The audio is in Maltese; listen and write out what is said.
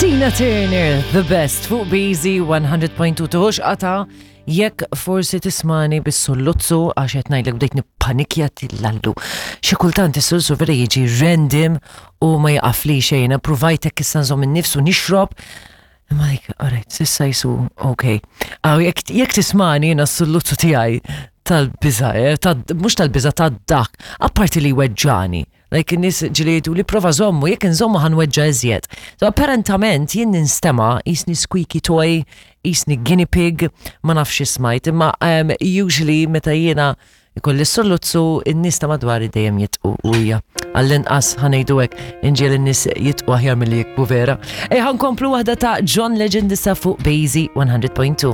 Tina Turner, the best fuq BZ 100.2 tuħux qata jekk forsi tismani bis-sulluzzu għax qed ngħidlek bdejt nippanikja tillallu. Xi kultant is-sulsu vera jiġi random u ma jaqafli xejn, provajtek issa nżomm in-nifs u nixrob. Imma like, alright, sissa jisu, ok. Għaw, jekk tismani jiena s-sulluzzu tiegħi tal-biża, eh, mhux tal-biża tad-dak, apparti li weġġani. Like in-nies ġieli jgħidu li prova żommu, jekk inżommu ħa nweġġa' iżjed. So apparentament jien ninstema' qisni squeaky toy, qisni guinea pig, ma nafx xi smajt, imma um, usually meta jiena ikolli s-solluzzu in-nies ta' madwari dejjem jitqu u hija għall-inqas ħanejdu hekk inġiel in-nies jitqu aħjar milli jikbu vera. Ej ħankomplu waħda ta' John Legend issa fuq Bazy 100.2.